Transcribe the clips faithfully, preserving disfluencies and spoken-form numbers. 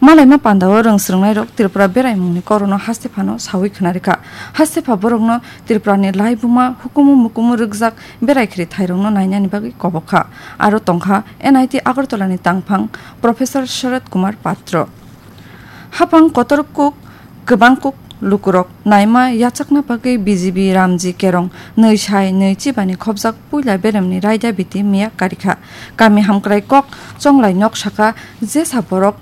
Malaima pandao rwng swrwngnairok Tripura beraimungni kokno haste phano sawi khwnarikha. Haste pha borokno Tripurani laibuma hukumu mukumu rwkjak berai khri thairokno nainani bagwi kobokha. Aro tongkha N I T Agartala ni tangphang Professor Sharad Kumar Patro. Hapang kotor kuk, kwbang kuk lukurok naima yachakna bagwi B J B Ramji Kerong nwi sai nwi chibani khobjak puila beremni raida biti miya karikha. Kami hamkrai kok chonglai nok saka jesa borok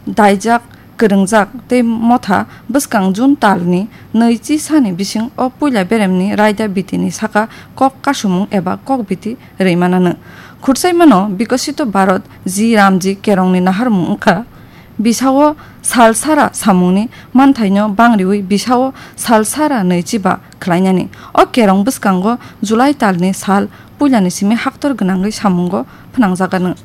daijak, kwrwngjak tei motha bwskang June talni nwi chi sani bising o puila beremni raida bitini saka kok kasumung eba kok biti rwi manano. Khursaimano Bikosito Bharat Ji Ramji Kerongni naharmung wngkha. Bisao sal sara samungni manthaino bangriwi bisao sal sara nwi chiba khlainani. O kerong bwskango July talni sal puilani simi haktor gwnangwi samungo phnangjakgano.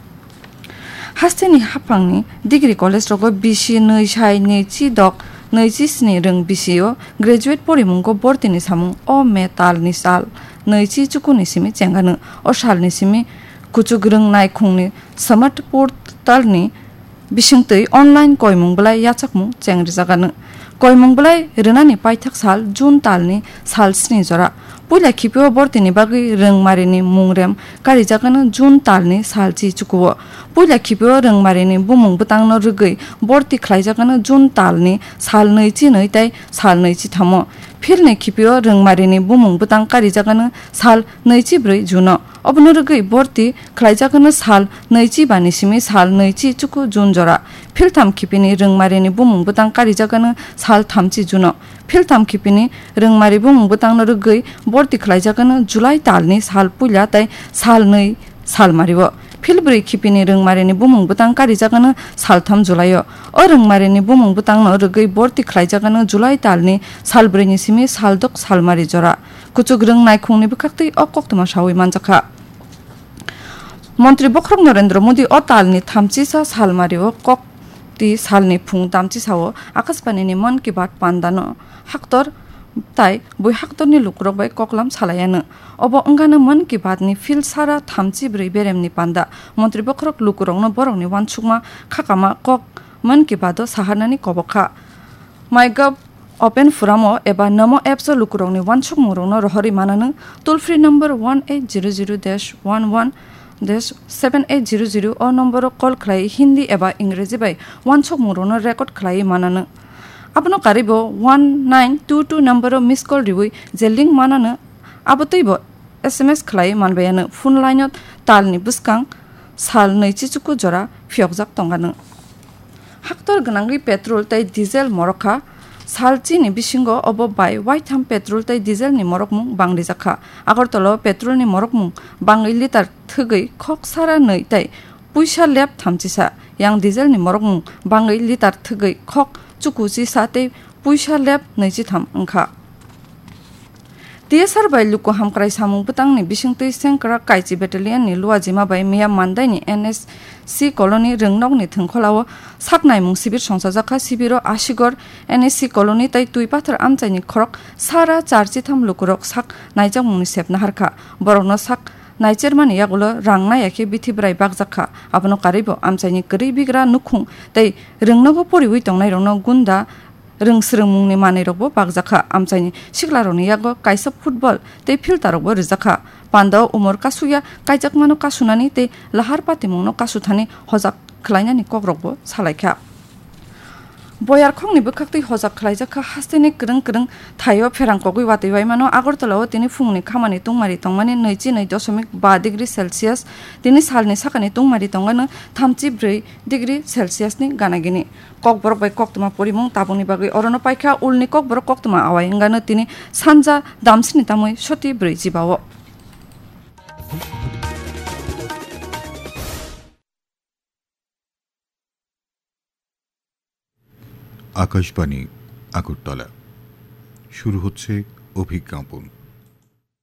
Hasteni haphangni degree college rogo bisi nwi sai nwi chi dok nwi chi sni rwng bisio graduate porimungo bortini samung o May talni sal nwi chi chukuni simi chengano. O salni simi kuchuk rwng naikhungni smart portalni bisingtwi online koimung bwlai yachakmung chengrijakgano. Koimung bwlai rwnani paithak sal June talni sal sni jora. Puila khipio bortini bagwi rwngmarini mungrem karijagano June talni sal chi chukuo. Puila khipio rwngmarini bumung bwtangno rwgwi borti khlaijagano June talni sal nwi chi nwi tei sal nwi chi thamo. Philni khipio rwngmarini bumung bwtang karijagano sal nwi chi brwi June-o. Obono rwgwi borti khlaijagano sal nwi chi bani simi sal nwi chi chuku June jora. Philtham khipini rwngmarini bumung bwtang karijagano sal thamchi June-o. Philtham khipini rwngmari bumung bwtangno rwgwi borti khlaijagano July talni sal puila tei sal nwi salmario. Philbrwi khipini rwngmarini bumung bwtang karijagano saltham July-o. O rwngmarini bumung bwtangno rwgwi borti khlaijagano July talni salbrwini simi saldok salmari jora. Kuchuk rwng naikhungni bwkhaktwi o koktwma sawi manjakha. Montri Bokhorok Narendra Modi o talni thamchisa salmario kok twi salni phung tamchisao Akashbanini Mann Ki Baat pandano haktor tai bui haktorni lukurok bai koklam salaiano. Obo wngkha Mann Ki Baatni phil sara thamchi brwi beremni panda. Montri Bokhorok lukurokno borokni uansukma khakama kok Mann Ki Baat-o saharnani kobokha. MyGov Open Forum-o eba Namo Apps-o lukurokni uansukmungrokno rohorwi manano. Toll free number one eight zero zero dash one one dash seven eight zero zero o nomboro call khlai Hindi eba Ingreji bai uansukmungrokno record khlaiwi manano. Abono karwibo one nine two two nomboro miss call riwi je link manano, abo twibo S M S khlai manbaiano. Phone line-o talni bwskang sal nwi chichuku jora phiyokjak tongano. Haktor gwnangwi petrol tei diesel morokha. Sal chini bisingo obo bai waitham petrol tei dieselni morokmung bangrijakha. Agartala-o petrolni morokmung bangwi litar thwgwi khok sara nwi tei puisa lep thamchisa. Yang dieselni morokmung bangwi litar thwgwi khok chuku chisa tei puisa lep nwi chitham wngkha. T S R bai luku hamkrai samung bwtangni bisingtwi Sengkrak Kaichi Battalion-ni luajima bai miya Mandaini N S C colony rwngnokni thwngkhwlao sak naimung sibir songchajakha. Sibiro Asigor N S C colony tei Twipathar amchaini khorok sara char chitham lukurok sak naijakmungni sep naharkha. Borokno sak naichermani yagulo rang naiya khe bithi bwrai bakjakha. Abono karwibo amchaini kwrwi bigra nukhung tei rwngnogo poriwi tongnairokno gunda rwng swrwngmungni manwirokbo bakjakha. Amchaini siklarokni yago kaisa football tei filtarokbo rwjakha. Pandao umor kasukya kaijakmano kasunani tei lahar patimungno kasuthani hojak khlainani kokrokbo salaikha. Boyarkhokni bwkhaktwi hojak khlaijakha hasteni kwrwng kwrwng thaio pherang kogwi watwi waimano. Agartala-o tini phungni khamani tungmari tongmani nwichi nwi dosomik ba degree Celsius, tini salni sakani tungmari tongmani thamchi brwi degree Celsius-ni gana gini. Kokborok bai koktwma porimung tabukni bagwi orono paikha. Ulni Kokborok koktwma awai wngano tini sanja damsini tamwi soti brwi jibao. Akashvani, আগরতলা। শুরু হচ্ছে অভিজ্ঞাপন।